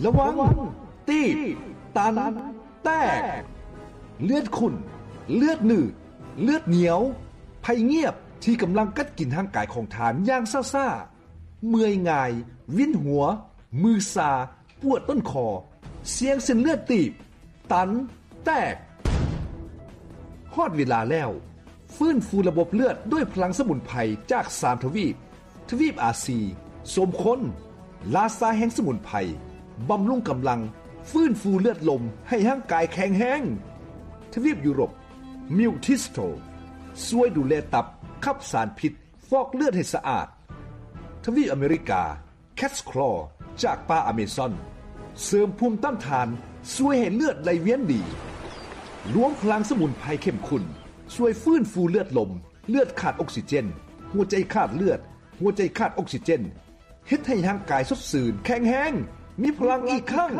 ລະວັງ ຕີບ ຕັນ ແຕກ. ເລືອດຂຸ້ນ, ເລືອດໜືດ, ເລືອດໜຽວ, ໄພງຽບທີ່ກຳລັງກັດກິນຮ່າງກາຍຂອງທ່ານຢ່າງຊ້າໆ, ເມື່ອຍງ່າຍ, ວິນຫົວ, ມືຊາ, ປວດຕົ້ນຄໍ, ສ່ຽງເສັ້ນເລືອດຕີບ, ຕັນ, ແຕກ. ຮອດເວລາແລ້ວ, ຟື້ນຟູລະບົບເລືອດດ້ວຍພະລັງສະໝຸນໄພຈາກສາມທະວີບ. ທະວີບອາຊີ ສົມຄົນ ລາຊາແຫ່ງສະໝຸນໄພ, ບຳລຸງກຳລັງ, ຟື້ນຟູເລືອດລົມໃຫ້ຮ່າງກາຍແຂງແຮງ. ທະວີບຢູໂຣບ ມິວທິສໂຕ ຊ່ວຍດູແລຕັບ, ຂັບສານພິດ, ຟອກເລືອດໃຫ້ສະອາດ. ທະວີບອາເມລິກາ ແຄດສະຄລໍ ຈາກປ່າອາເມຊອນ ເສີມພູມຕ້ານທານ, ຊ່ວຍໃຫ້ເລືອດໄຫຼວຽນດີ. ລວມພະລັງສະໝຸນໄພເຂັ້ມຂຸ້ນ ຊ່ວຍຟື້ນຟູເລືອດລົມ, ເລືອດຂາດອົກຊີເຈນ, ຫົວໃຈຂາດເລືອດ, ຫົວໃຈຂາດອົກຊີເຈນ, ເຮັດໃຫ້ຮ່າງກາຍສົດຊື່ນ, ແຂງແຮງ, ມີພະລັງອີກຄັ້ງ.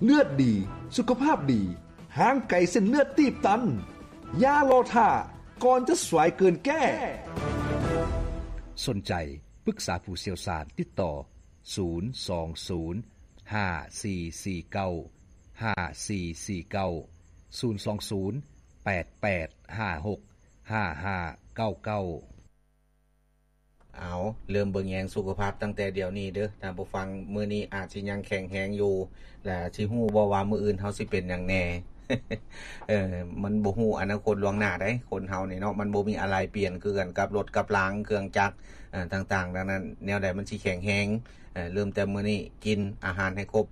ເລືອດດີ, ສຸຂະພາບດີ, ຫ່າງໄກເສັ້ນເລືອດຕີບຕັນ. ຢ່າລໍຖ້າ, ກ່ອນຈະສວຍເກີນແກ້. ສົນໃຈປຶກສາຜູ້ຊ່ຽວຊານ, ຕິດຕໍ່ ສູນສອງສູນ ຫ້າສີ່ສີ່ເກົ້າ ຫ້າສີ່ສີ່ເກົ້າ, ສູນສອງສູນ ແປດແປດຫ້າຫົກ ຫ້າຫ້າເກົ້າເກົ້າ. ເອົາ, ເລີ່ມເບິ່ງແຍງສຸຂະພາບຕັ້ງແຕ່ດຽວນີ້ເດີ້ ທ່ານຜູ້ຟັງ. ມື້ນີ້ອາດຊິຍັງແຂງແຮງຢູ່ ແລະ ຊິຮູ້ບໍ່ວ່າມື້ອື່ນເຮົາຊິເປັນຫຍັງແດ່? ເອີ ມັນບໍ່ຮູ້ອະນາຄົດລ່ວງໜ້າໃດ໋ ຄົນເຮົານີ້ເນາະ, ມັນບໍ່ມີອາໄລປ່ຽນຄືກັນກັບລົດກັບລາງເຄື່ອງຈັກ ເອີ ຕ່າງໆ. ດັ່ງນັ້ນ ແນວໃດມັນຊິແຂງແຮງ? ເອີ ເລີ່ມແຕ່ມື້ນີ້ ກິນອາຫານໃຫ້ຄົບ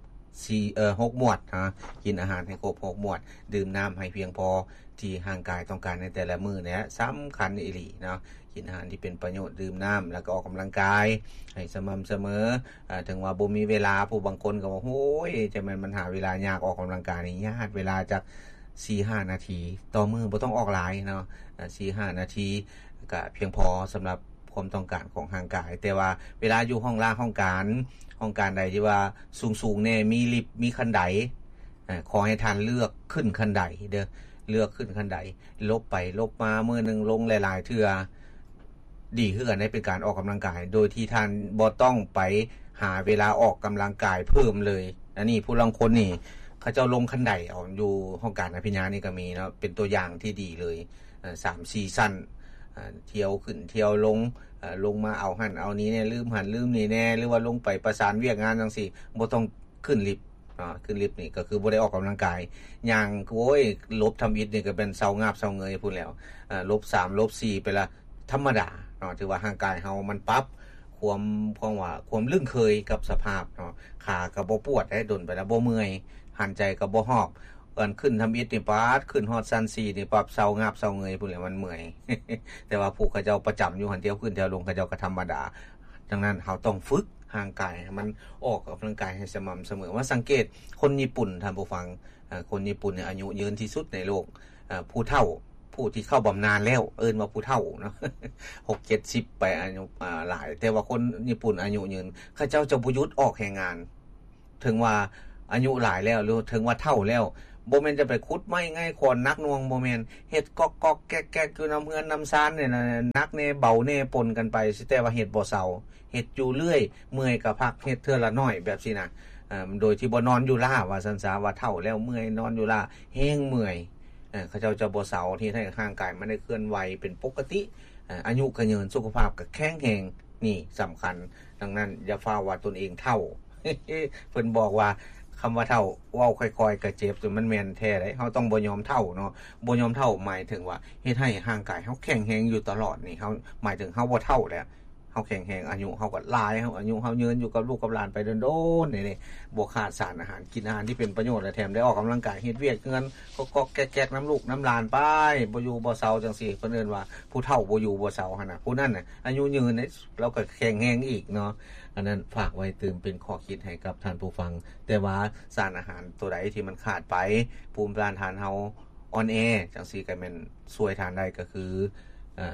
ສີ່ ເອີ ຫົກໝວດນະ, ກິນອາຫານໃຫ້ຄົບຫົກໝວດ, ດື່ມນ້ຳໃຫ້ພຽງພໍ ທີ່ຮ່າງກາຍຕ້ອງການໃນແຕ່ລະມື້ນີ້ສຳຄັນອີ່ຫຼີເນາະ. ກິນອາຫານທີ່ເປັນປະໂຫຍດ, ດື່ມນ້ຳ ແລ້ວກໍອອກກຳລັງກາຍໃຫ້ສະໝ່ຳສະເໝີ. ເຖິງວ່າບໍ່ມີເວລາ, ຜູ້ບາງຄົນກໍວ່າ ໂອ້ຍ ຈະແມ່ນມັນຫາເວລາຍາກ, ອອກກຳລັງກາຍນີ້ຍາດເວລາຈັກສີ່ຫ້ານາທີຕໍ່ມື້, ບໍ່ຕ້ອງອອກຫຼາຍເນາະ, ສີ່ຫ້ານາທີກໍພຽງພໍສຳລັບຄວາມຕ້ອງການຂອງຮ່າງກາຍ. ແຕ່ວ່າເວລາຢູ່ຫ້ອງລາຫ້ອງການ, ຫ້ອງການໃດທີ່ວ່າສູງໆແດ່, ມີລິບ, ມີຂັ້ນໄດ, ເອີ ຂໍໃຫ້ທ່ານເລືອກຂຶ້ນຂັ້ນໄດເດີ້, ເລືອກຂຶ້ນຂັ້ນໄດ, ຫຼົບໄປຫຼົບມາ, ມື້ໜຶ່ງລົງຫຼາຍໆເທື່ອ, ດີຄືກັນເດ້, ເປັນການອອກກຳລັງກາຍ ໂດຍທີ່ທ່ານບໍ່ຕ້ອງໄປຫາເວລາອອກກຳລັງກາຍເພີ່ມເລີຍ. ອັນນີ້ຜູ້ລາງຄົນນີ້ ເຂົາເຈົ້າລົງຂັ້ນໄດເອົາ, ຢູ່ຫ້ອງການອະພິນຍານີ້ກໍມີເນາະ, ເປັນຕົວຢ່າງທີ່ດີເລີຍ. ເອີ ສາມສີ່ຊັ້ນ, ເອີ ທ່ຽວຂຶ້ນທ່ຽວລົງ, ເອີ ລົງມາເອົາຫັ້ນເອົານີ້ແດ່, ລືມຫັ້ນລືມນີ້ແດ່, ຫຼືວ່າລົງໄປປະສານວຽກງານຈັ່ງຊີ້, ບໍ່ຕ້ອງ ຂຶ້ນລິບເນາະ, ຂຶ້ນລິບນີ້ກໍຄືບໍ່ໄດ້ອອກກຳລັງກາຍ, ຍ່າງ ໂອ້ຍ ຫຼົບທຳອິດນີ້ກໍແມ່ນເຊົາງາບເຊົາເງີຍພຸ້ນແລ້ວ. ເອີ ຫຼົບສາມ ຫຼົບສີ່ໄປລະ ທຳມະດາເນາະ, ຖືວ່າຮ່າງກາຍເຮົາມັນປັບຄວາມ ຄວາມວ່າ ຄວາມລຶ້ງເຄີຍກັບສະພາບເນາະ, ຂາກໍບໍ່ປວດເດ້, ດົນໄປແລ້ວບໍ່ເມື່ອຍ, ຫັນໃຈກໍບໍ່ຫອບ. ອັນຂຶ້ນທຳອິດນີ້ ປາດ ຂຶ້ນຮອດຊັ້ນສີ່ນີ້ປັບ ເຊົາງາບເຊົາເງີຍພຸ້ນແຫຼະ, ມັນເມື່ອຍ. ແຕ່ວ່າຜູ້ເຂົາເຈົ້າປະຈຳຢູ່ຫັ້ນ ທ່ຽວຂຶ້ນທ່ຽວລົງ ເຂົາເຈົ້າກໍທຳມະດາ. ດັ່ງນັ້ນ ເຮົາຕ້ອງຝຶກ ຮ່າງກາຍໃຫ້ມັນອອກກຳລັງກາຍໃຫ້ສະໝ່ຳສະເໝີ. ມາສັງເກດຄົນຍີ່ປຸ່ນ ທ່ານຜູ້ຟັງ, ເອີ ຄົນຍີ່ປຸ່ນນີ້ອາຍຸຍືນທີ່ສຸດໃນໂລກ. ເອີ ຜູ້ເຖົ້າ ຜູ້ທີ່ເຂົ້າບຳນານແລ້ວ ເອີ້ນວ່າຜູ້ເຖົ້າເນາະ, ຫົກເຈັດສິບໄປ ອາຍຸ ອາ ຫຼາຍ. ແຕ່ວ່າຄົນຍີ່ປຸ່ນອາຍຸຍືນ ເຂົາເຈົ້າຈະບໍ່ຢຸດອອກແຮງງານ, ເຖິງວ່າອາຍຸຫຼາຍແລ້ວ ຫຼື ເຖິງວ່າເຖົ້າແລ້ວ. ບໍ່ແມ່ນຈະໄປຂຸດໄມ້ ໄງ່ຂອນ ໜັກໜ່ວງ, ບໍ່ແມ່ນ. ເຮັດກອກໆແກກໆຢູ່ນຳເຮືອນນຳຊານນີ້ນະ, ໜັກແດ່ເບົາແດ່ປົນກັນໄປ, ແຕ່ວ່າເຮັດບໍ່ເຊົາ. ເຮັດຢູ່ເລື້ອຍ, ເມື່ອຍກໍພັກ, ເຮັດເທື່ອລະໜ້ອຍແບບຊີ້ນະ, ເອີ ໂດຍທີ່ບໍ່ນອນຢູ່ລ້າ ວ່າຊັ້ນຊະ, ວ່າເຖົ້າແລ້ວເມື່ອຍ ນອນຢູ່ລ້າ ແຮງເມື່ອຍ. ເອີ ເຂົາເຈົ້າຈະບໍ່ເຊົາ, ເຮັດໃຫ້ຮ່າງກາຍມັນໄດ້ເຄື່ອນໄຫວເປັນປົກກະຕິ, ເອີ ອາຍຸກະຍືນ, ສຸຂະພາບກໍແຂງແຮງ, ນີ້ສຳຄັນ. ດັ່ງນັ້ນ ຢ່າຟ້າວວ່າຕົນເອງເຖົ້າ. ເພິ່ນບອກວ່າ ຄຳວ່າເຖົ້າ ເວົ້າຄ່ອຍໆກໍເຈັບ, ແຕ່ມັນແມ່ນແທ້ເດ້. ເຮົາຕ້ອງບໍ່ຍອມເຖົ້າເນາະ, ບໍ່ຍອມເຖົ້າໝາຍເຖິງວ່າເຮັດໃຫ້ຮ່າງກາຍເຮົາແຂງແຮງຢູ່ຕະຫຼອດນີ້, ເຮົາ ໝາຍເຖິງເຮົາບໍ່ເຖົ້າແລ້ວ. ເຮົາແຂງແຮງ, ອາຍຸເຮົາກໍຫຼາຍ, ເຮົາ ອາຍຸເຮົາຍືນຢູ່ກັບລູກກັບຫຼານໄປດົນໆນີ້ເດ້, ບໍ່ຂາດສານອາຫານ, ກິນອາຫານທີ່ເປັນປະໂຫຍດ ແລະ ແຖມໄດ້ອອກກຳລັງກາຍ, ເຮັດວຽກເຮືອນ ກອກໆແກກໆນຳລູກນຳຫຼານໄປ, ບໍ່ຢູ່ບໍ່ເຊົາຈັ່ງຊີ້, ເພິ່ນເອີ້ນວ່າຜູ້ເຖົ້າບໍ່ຢູ່ບໍ່ເຊົາຫັ້ນນະ. ຜູ້ນັ້ນນະ ອາຍຸຍືນເດ້, ລາວກໍແຂງແຮງອີກເນາະ. ອັນນັ້ນຝາກໄວ້ຕື່ມເປັນຂໍ້ຄິດໃຫ້ກັບທ່ານຜູ້ຟັງ. ແຕ່ວ່າສານອາຫານຕົວໃດທີ່ມັນຂາດໄປ, ພູມຕ້ານທານເຮົາອ່ອນແອ ຈັ່ງຊີ້ກໍແມ່ນຊ່ວຍທ່ານໄດ້ ກໍຄື ເອີ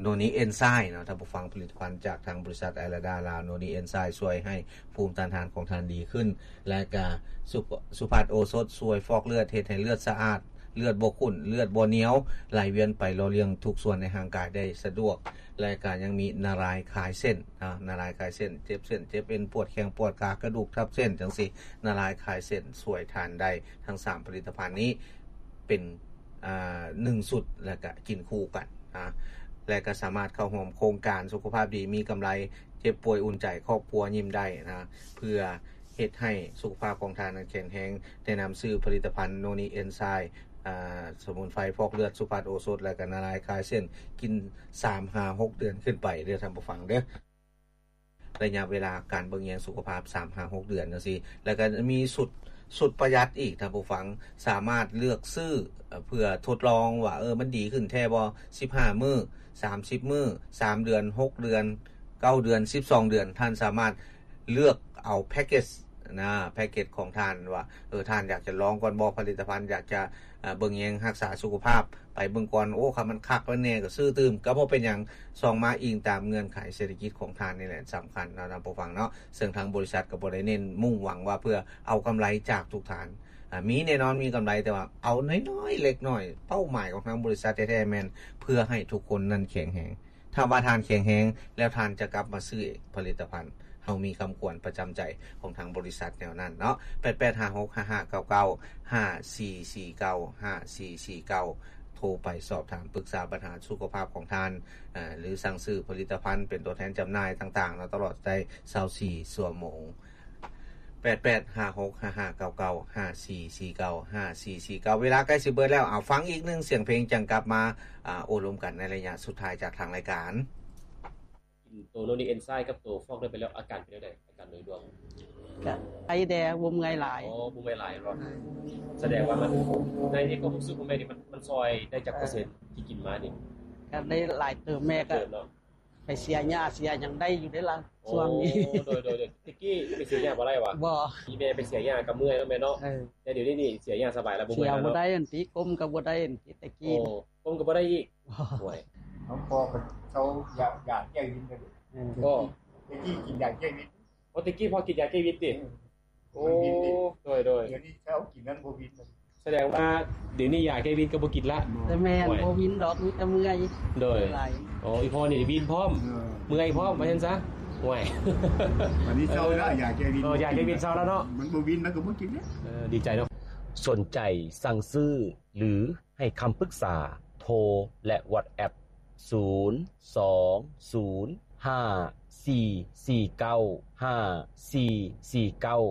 ໂນນິເອັນໄຊມ໌ເນາະ ທ່ານຜູ້ຟັງ, ຜະລິດຕະພັນຈາກທາງບໍລິສັດໄອລາດາລາວ. ໂນນິເອັນໄຊມ໌ຊ່ວຍໃຫ້ພູມຕ້ານທານຂອງທ່ານດີຂຶ້ນ, ແລະກະສຸ ສຸພາດໂອສົດ ຊ່ວຍຟອກເລືອດ ເຮັດໃຫ້ເລືອດສະອາດ, ເລືອດບໍ່ຂຸ້ນ ເລືອດບໍ່ໜຽວ ໄຫຼວຽນໄປຫຼໍ່ລ້ຽງທຸກສ່ວນໃນຮ່າງກາຍໄດ້ສະດວກ ແລະກະຍັງມີນາລາຍຄາຍເສັ້ນ ນາລາຍຄາຍເສັ້ນ ເຈັບເສັ້ນເຈັບເອັນ ປວດແຂ້ງປວດຂາ ກະດູກທັບເສັ້ນ ຈັ່ງຊີ້ ນາລາຍຄາຍເສັ້ນຊ່ວຍທ່ານໄດ້. ທັງສາມຜະລິດຕະພັນນີ້ເປັນ ອ່າ ໜຶ່ງຊຸດ ແລະກະກິນຄູ່ກັນນະ ແລະກະສາມາດເຂົ້າຮ່ວມໂຄງການສຸຂະພາບດີມີກຳໄລ ເຈັບປ່ວຍອຸ່ນໃຈ ຄອບຄົວຍິ້ມໄດ້ນະ ເພື່ອເຮັດໃຫ້ສຸຂະພາບຂອງທ່ານນັ້ນແຂງແຮງ ແນະນຳຊື້ຜະລິດຕະພັນໂນນີເອັນໄຊ ອ່າ ສະໝຸນໄພຟອກເລືອດ ສຸພັດໂອສົດ ແລະກະນາລາຍຄາຍເສັ້ນ ກິນສາມຫາຫົກເດືອນຂຶ້ນໄປເດີທ່ານຜູ້ຟັງເດີ. ໄລຍະເວລາການເບິ່ງແຍງສຸຂະພາບສາມຫາຫົກເດືອນຈັ່ງຊີ້ ແລ້ວກໍມີຊຸດ ຊຸດປະຢັດອີກທ່ານຜູ້ຟັງ ສາມາດເລືອກຊື້ເພື່ອທົດລອງວ່າ ເອີ ມັນດີຂຶ້ນແທ້ບໍ່ ສິບຫ້າມື້ ສາມສິບມື້ ສາມເດືອນ ຫົກເດືອນ ເກົ້າເດືອນ ສິບສອງເດືອນ ທ່ານສາມາດເລືອກເອົາແພັກເກັດນະ ແພັກເກັດຂອງທ່ານວ່າ ເອີ ທ່ານຢາກຈະລອງກ່ອນບໍ່ ຜະລິດຕະພັນ ຢາກຈະ ເບິ່ງແຍງຮັກສາສຸຂະພາບ ໄປເບິ່ງກ່ອນ ໂອ້ ຄັນມັນຄັກແລ້ວແນ່ກໍຊື້ຕື່ມ ກໍບໍ່ເປັນຫຍັງ ຊອງມາອີງຕາມເງື່ອນໄຂເສດຖະກິດຂອງທ່ານນີ້ແຫຼະສຳຄັນເນາະທ່ານຜູ້ຟັງເນາະ ເຊິ່ງທາງບໍລິສັດກໍບໍ່ໄດ້ເນັ້ນມຸ່ງຫວັງວ່າເພື່ອເອົາກຳໄລຈາກທຸກທ່ານ ອາ ມີແນ່ນອນມີກຳໄລ ແຕ່ວ່າເອົານ້ອຍໆເລັກນ້ອຍ ເປົ້າໝາຍຂອງທາງບໍລິສັດແທ້ໆແມ່ນເພື່ອໃຫ້ທຸກຄົນນັ້ນແຂງແຮງ ຖ້າວ່າທ່ານແຂງແຮງແລ້ວ ທ່ານຈະກັບມາຊື້ເອງຜະລິດຕະພັນ ເຮົາມີຄຳຂວັນປະຈຳໃຈຂອງທາງບໍລິສັດແນວນັ້ນເນາະ ແປດແປດຫ້າຫົກຫ້າຫ້າເກົ້າເກົ້າ ຫ້າສີ່ສີ່ເກົ້າ ຫ້າສີ່ສີ່ເກົ້າ ໂທໄປສອບຖາມປຶກສາບັນຫາສຸຂະພາບຂອງທ່ານ ຫຼືສັ່ງຊື້ຜະລິດຕະພັນເປັນຕົວແທນຈຳໜ່າຍຕ່າງໆເນາະ ຕະຫຼອດໄດ້ຊາວສີ່ຊົ່ວໂມງ ແປດແປດຫ້າຫົກຫ້າຫ້າເກົ້າເກົ້າ ຫ້າສີ່ສີ່ເກົ້າ ຫ້າສີ່ສີ່ເກົ້າ ເວລາໃກ້ຊິເບີດແລ້ວ ເອົາ ຟັງອີກໜຶ່ງສຽງເພງ ຈັ່ງກັບມາ ອ່າ ໂອ້ລົມກັນໃນໄລຍະສຸດທ້າຍຈາກທາງລາຍການ. ກິນໂຕໂນນີເອັນໄຊກັບໂຕຟອກເລືອດໄປແລ້ວ ອາການເປັນແນວໃດ? ອາການໂດຍລວມ ກະໄອແດ່ ບໍ່ເມື່ອຍຫຼາຍ. ອໍ ບໍ່ເມື່ອຍຫຼາຍເນາະ. ສະແດງວ່າມັນ ໃນ ໃນຄວາມຮູ້ສຶກຂອງແມ່ນີ້ ມັນ ມັນຊ່ອຍໄດ້ຈັກເປີເຊັນທີ່ກິນມານີ້? ກະໄດ້ຫຼາຍເຕີບ ແມ່ກະ ເຕີບເນາະ. ໄປເສຍຫຍ້າເສຍຫຍັງໄດ້ຢູ່ເດ້ລະ ໂອ້ ຊ່ວງນີ້. ໂດຍ ໂດຍ ໂດຍ. ແຕ່ກີ້ໄປເສຍຫຍ້າບໍ່ໄດ້ຫວາ? ບໍ່. ອີແມ່ໄປເສຍຫຍ້າກໍເມື່ອຍເນາະແມ່ເນາະ. ເອີ ແຕ່ດຽວນີ້ນີ້ເສຍຫຍ້າສະບາຍແລ້ວ ບໍ່ເມື່ອຍແລ້ວເນາະ. ເສຍບໍ່ໄດ້ອັນຕິ ກົ້ມກໍບໍ່ໄດ້ອັນຕິ ແຕ່ກີ້. ໂອ້ ກົ້ມກໍບໍ່ໄດ້ອີກ. ໂອ້ຍ ນ້ອງພໍ່ກໍເຊົາຢາ ຢາແກ້ວິນໄປເດ້. ເອີ ກໍ ແຕ່ກີ້ກິນຢາແກ້ວິນ. ໂອ້ ແຕ່ກີ້ພໍ່ກິນຢາແກ້ວິນຕິ? ເອີ ໂອ້ ໂດຍ ໂດຍ. ດຽວນີ້ເຊົາກິນນັ້ນບໍ່ວິນ. ສະແດງວ່າດຽວນີ້ຢາແກ້ວິນກໍບໍ່ກິນລະ. ແຕ່ແມ່ນ ໂອ້ຍ ບໍ່ວິນດອກ ມີແຕ່ເມື່ອຍ. ໂດຍ. ໂອ້ ອີພໍ່ນີ້ວິນພ້ອມ ເອີ ເມື່ອຍພ້ອມ ວ່າຊັ້ນຊະ. ໂອ້ຍ ອັນນີ້ເຊົາລະ ຢາແກ້ວິນ. ເອີ ຢາແກ້ວິນເຊົາລະເນາະ. ມັນບໍ່ວິນ ມັນກໍບໍ່ກິນເດ້. ເອີ ດີໃຈເນາະ. ສົນໃຈສັ່ງຊື້ ຫຼື ໃຫ້ຄຳປຶກສາ ໂທ ແລະ ວັອດແອັບ ສູນສອງສູນຫ້າສີ່ສີ່ເກົ້າຫ້າສີ່ສີ່ເກົ້າ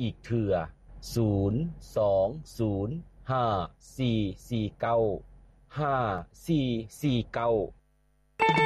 ອີກເທື່ອ ສູນສອງສູນຫ້າສີ່ສີ່ເກົ້າຫ້າສີ່ສີ່ເກົ້າ.